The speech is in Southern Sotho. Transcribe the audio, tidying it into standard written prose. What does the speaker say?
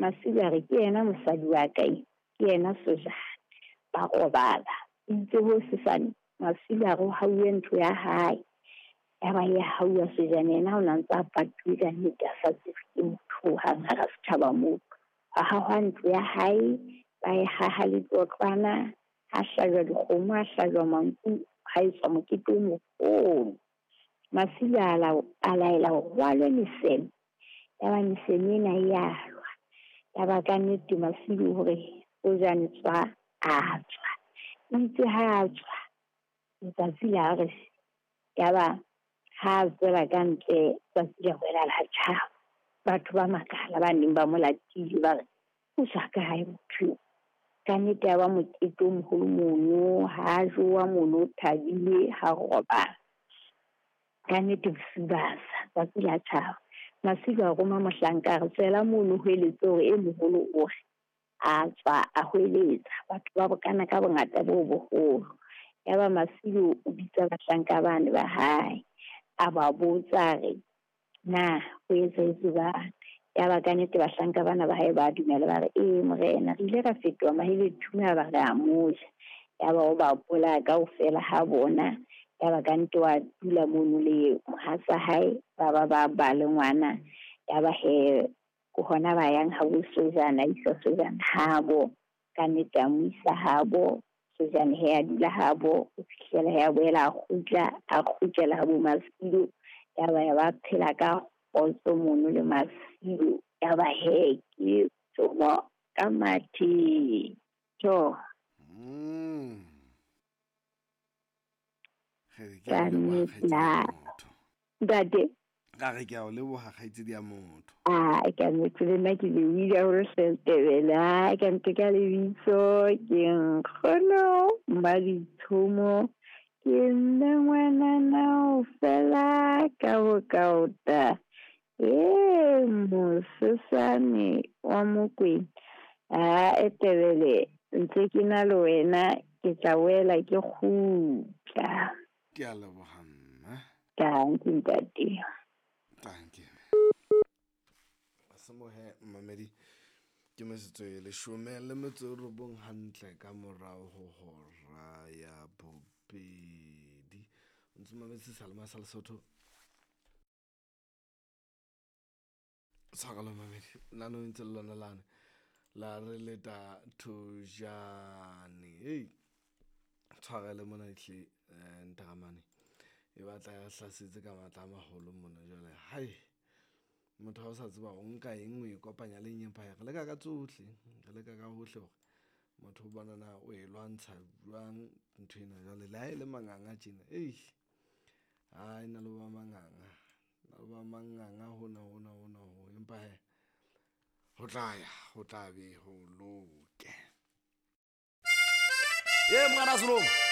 Masiu a re ke yena mosadi wa ka e, ke yena Sojane. Ba robala. Itse ho sesane Masiu a re o hauwe ntlo ya hae. Ya ba ya hauwa Sojane yena o na ntse a patuwe ka nnete a sa tsebe ke motho hohang hara setjhaba moo. A hahwa ntlo ya hae, ba e haha letlotlwana, ha hlajwa dikgomo, ha hlajwa manku, ha etswa mokete o moholo. Masiu a laela hore ho alwe meseme. Ya ba meseme ena e alwa. Ya ba ka nnete Masiu hore Sojane tswa, a tswa. Itse ha a tswa, letsatsi la re ya ba ha a tswela ka ntle tsatsi la boela la tjhaba. Batho ba makala ba neng ba mo latile ba re o tswa kae motho eo? Ka nnete ya ba mokete o moholo mono, ha jowa mono o thabile, ha robala. Ka nnete bosiu ba sa, tsatsi la tjhaba. Masiu a roma mohlanka a re tswela mono hweletse hore e moholo o re. A tswa a hweletsa, batho ba bokana ka bongata bo boholo. Ya ba Masiu o bitsa bahlanka bane ba hae, a ba botsa a re na ho etsahetse jwang? Ya ba ka nnete bahlanka bana ba hae ba dumela ba re ee morena, re ile ra fetoha mahelethume a ba re a mo ja. Ya ba o ba bolaya kaofela ha bona. Ya ba ka nnete wa dula mono le mohatsa hae, ba ba ba ba le ngwana. Ya ba he ke hona ba yang ha bo Sojane, a isa Sojane habo. Ka nnete a mo isa habo. Sojane he a dula habo ho fihlela he a boela a kgutla, a kgutlela habo Masiu. Ya ba ya ba phela ka kgotso mono le Masiu. Ya ba he ke tsomo ka mathe. Tjo. Ka nnete ntate. Ka re ke a o leboha kgaitsedi ya motho. A ka nnete le nna ke lebohile haholo hle Tebele. A ka nnete ka lebitso ke nkgono Mmaditshomo. Ke nna ngwanana o fela ka bokaota. Ee mosesane wa Mokwena. A Tebele ntse ke na le wena, ke tla boela ke kgutla. Ke a leboha mma. Dankie ntate. Dankie. Semohe mmamedi ke metsotso e 19 hantle ka morao ho hora ya bobedi. O ntse mametse Salema sa Lesotho. Tshwarelo mamedi, nano ntse le lona lane la re leta thojane. Hey, tshwarele mona hle ntaramane e batla ya hlasetse ka matla a maholo mona jwale. Hai, motho ha o sa tseba o nka eng o e kopanya le eng, empa re leka ka tsohle, re leka ka hohle hore motho o bona na o e lwantsha jwang ntho ena jwale. Le ha e le manganga tjena, eish, ha e na le ba manganga, na le ba manganga hona hona hona ho, empa he ho tla ya, ho tla be ho loke. Ye mwana Solomon.